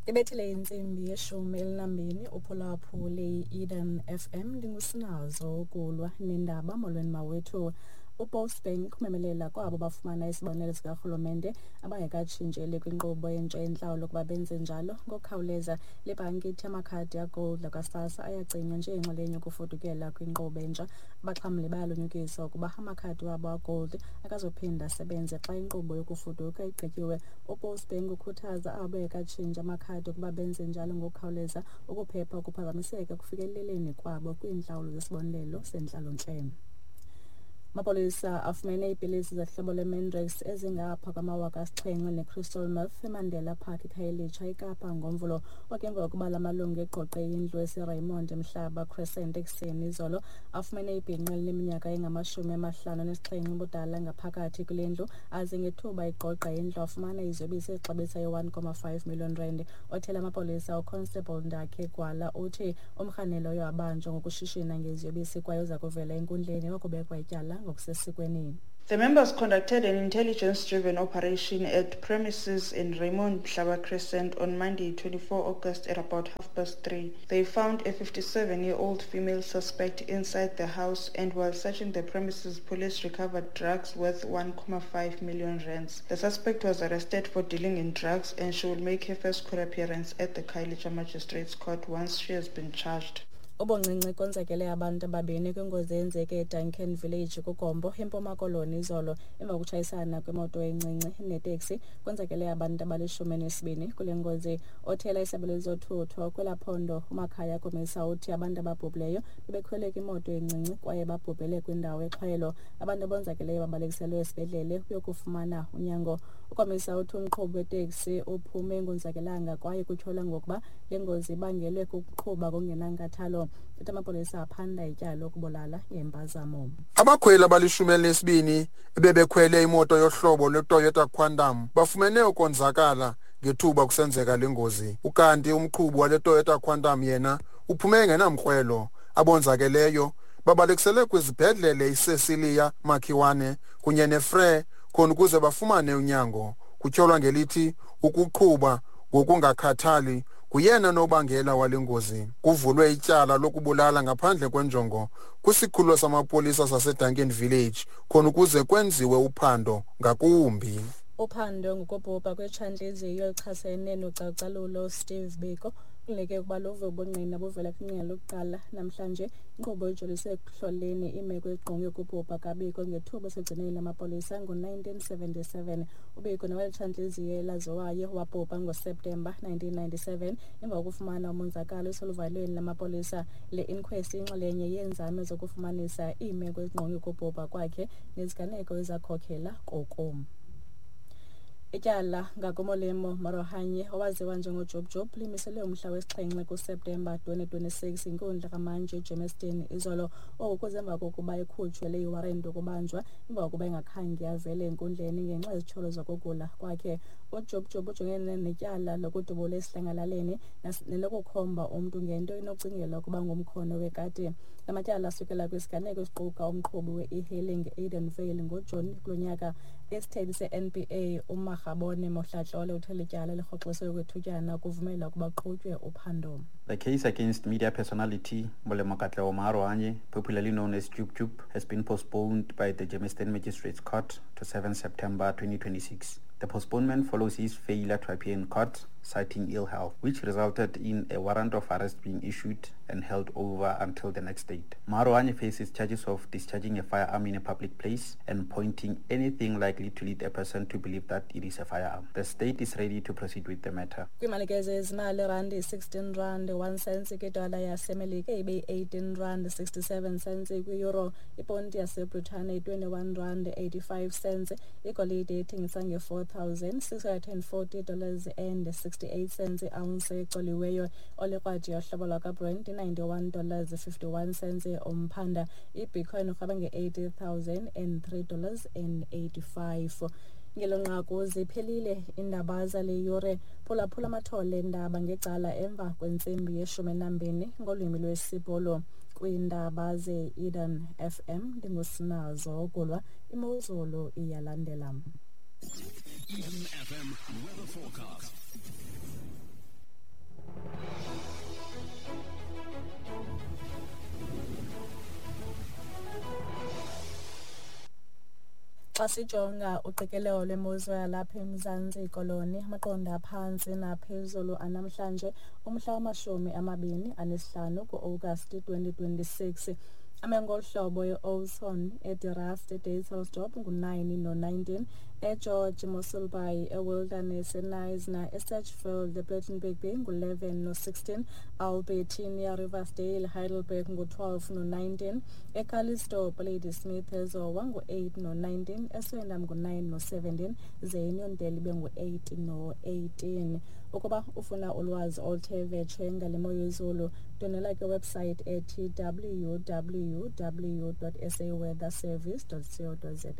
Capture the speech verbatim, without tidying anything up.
Ibethile intsimbi yeshumi elinambini uphulaphule i-Eden F M. Ndingusinazo ukulwa nendaba. Molweni mawethu. UPostbank umemelela kwabo bafumana isibonelo sikarhulumente abangekatshintsheli kwinkqubo entsha yentlawulo ukuba benze njalo ngokukhawuleza. Le bhanki ithi amakhadi aGold akwaSASSA ayacinywa njengenxalenye yokufudukela kwinkqubo entsha. Abaxhamli bayalunyukiswa ukuba amakhadi wabo aGold akazuphinda asebenze xa inkqubo yokufuduka igqityiwe. UPostbank ukhuthaza abo bengekatshintshi amakhadi ukuba benze njalo ngokukhawuleza ukuphepha ukuphazamiseka ekufikeleleni kwabo kwiintlawulo zesibonelelo sentlalontle. Amapolisa afumene iipilisi zehlobo lweMandrax ezingapha kwamawaka asixhenxe necrystal meth eMandela Park, eKhayelitsha, eKapa ngoMvulo. Oku emva kokuba la malungu egqogqe indlu eseRaymond Mhlaba Crescent ekuseni izolo, afumene ibhinqa elineminyaka engamashumi amahlanu anesixhenxe ubudala ngaphakathi kule ndlu, aze ngethuba egqogqa indlu afumana iziyobisi ezixabisa i-one point five million rand. Othela amapolisa uConstable Ndakhe Gwala uthi umrhanelwa uye wabanjwa ngokushishina ngeziyobisi kwaye uza kuvela enkundleni wakubekwa ityala ngokusesikweni. The members conducted an intelligence-driven operation at premises in Raymond Mhlaba Crescent on Monday, twenty-four August at about half past three. They found a fifty-seven-year-old female suspect inside the house, and while searching the premises, police recovered drugs worth one point five million rands. The suspect was arrested for dealing in drugs, and she will make her first court appearance at the Khayelitsha Magistrates Court once she has been charged. Ubuncinci konzakele abantu ababini kwingozi eyenzeke eDuncan Village kuGompo, eMpuma Koloni izolo emva kokutshayisana kwemoto encinci neteksi. Konzakele abantu abalishumi nesibini kule ngozi. Othela isebe lezothutho kwelaa phondo uMakhaya Komisa uthi abantu ababhubhileyo bebekhwele kwimoto encinci kwaye babhubhele kwindawo exhwayelo. Abantu abonzakeleyo babalekiselwe esibhedlele ukuyokufumana unyango. UKomisa uthi umqhubi weteksi uphume engonzakelanga kwaye kutyholwa ngokuba le ngozi ibangelwe kukuqhuba ngokungenankathalo. Uthi amapolisa aphanda ityala lokubulala ngempazamo. Abakhweli abalishumi elinesibini ebebekhwele imoto yohlobo lweToyota Quantum bafumene ukonzakala ngethuba kusenzeka le ngozi. Ukanti umqhubi wale Toyota Quantum yena uphume engenamkrwelo. Abonzakeleyo babalekiselwe kwizibhedlele iCecilia Makhiwane kunye neFrere khona ukuze bafumane unyango. Kutyholwa ngelithi ukuqhuba ngokungakhathali nguyena nobangela wale ngozi. Kuvulwe ityala lokubulala ngaphandle kwenjongo kwisikhululo samapolisa saseDuncan Village khona ukuze kwenziwe uphando ngakumbi. Uphando ngokubhubha kwetshantliziyo elichasene nocalucalulo Steve Biko kulindeleke ukuba luve ubungqina buvela kwingqina lokuqala namhlanje. Inkqubo ijolise ekuhloleni iimeko ezingqonge ukubhubha kaBiko ngethuba esegcinweni lamapolisa ngo-nineteen seventy-seven. UBiko, nowelitshantliziyo elaziwayo, wabhubha ngoSeptemba nineteen ninety-seven emva kokufumana umonzakalo eseluvalelweni lamapolisa. Le inquest inxalenye yeenzame zokufumanisa iimeko ezingqonge ukubhubha kwakhe neziganeko ezakhokhela koku. Ityala ngakuMolemo Maarohanye, owaziwa njengoJub Jub, limiselwe umhla wesixhenxe kuSeptemba twenty twenty-six inkundla kamantyi eGermiston izolo. Oku kuze emva kokuba ekhutshwe le iwarenti yokubanjwa emva kokuba engakhange avele enkundleni ngenxa yezityholo zokugula kwakhe. UJub Jub ujongene netyala lokudubula esidlangalaleni nelokukhomba umntu ngento enokucingelwa ukuba ngumkhono wekati. La matyala asukela kwisiganeko esiquka umqhubi we-e-hailing Edenvale ngoJuni kulo nyaka. Isithethi se-N P A uMakgabone Mohlatlole uthe lityala lirhoxiswe okwethutyana ukuvumela ukuba kuqhutywe uphando. The case against media personality Molemo Katlego Maarohanye, popularly known as Jub Jub, has been postponed by the Germiston Magistrates Court to seven September twenty twenty-six. The postponement follows his failure to appear in court, citing ill health, which resulted in a warrant of arrest being issued and held over until the next date. Maarohanye faces charges of discharging a firearm in a public place and pointing anything likely to lead a person to believe that it is a firearm. The state is ready to proceed with the matter. Kwiimalike zezimali, irandi sixteen rand one cents kwidola yaseMelika, ibe yi-eighteen rand sixty-seven cents kwi-euro, iponti yaseBritane yi-twenty-one rand eighty-five cents, igolide ithengisa nge-four thousand six hundred and forty dollars and sixty-eight cents i-ounce ecoliweyo, olikrwadi yohlobo lwakwaBrent i-ninety-one dollars fifty-one cents umphanda, ibitcoin urhaba nge-eighty thousand and three dollars and eighty-five. Ngelo nqaku ziphelile iindaba zale yure. Phulaphula amathole endaba ngecala emva kwentsimbi yeshumi nambini ngolwimi lwesiBhulu kwiindaba ze-Eden F M. Ndingusinazo Gulwa. Imozulu iyalandela. Eden F M weather forecast. Xa sijonga uqikelelo lwemozulu yalapha eMzantsi Koloni, amaqondo aphantsi naphezulu anamhlanje umhla wamashumi amabini anesihlanu ku-Agasti twenty twenty-six, ame ngolu hlobo: e-Oudtshoorn, eDe Rust, eDysselsdorp ngu-nine no-nineteen, eGeorge, Mossel Bay, eWilderness, eKnysna, eSedgefield, ePlettenberg Bay ngu-eleven no-sixteen, Albertinia, Riversdale, Heidelberg ngu-twelve no-nineteen, eCalitzdorp, Ladysmith, eZowa ngu-eight no-nineteen, eSwellendam ngu-nine no-seventeen, ze iNyondele ibe ngu-eight no-eighteen. Ukuba ufuna ulwazi oluthe vetshe ngale mo yezulu, ndwendwela kwiwebsite ethi W W W dot saweatherservice dot co dot za.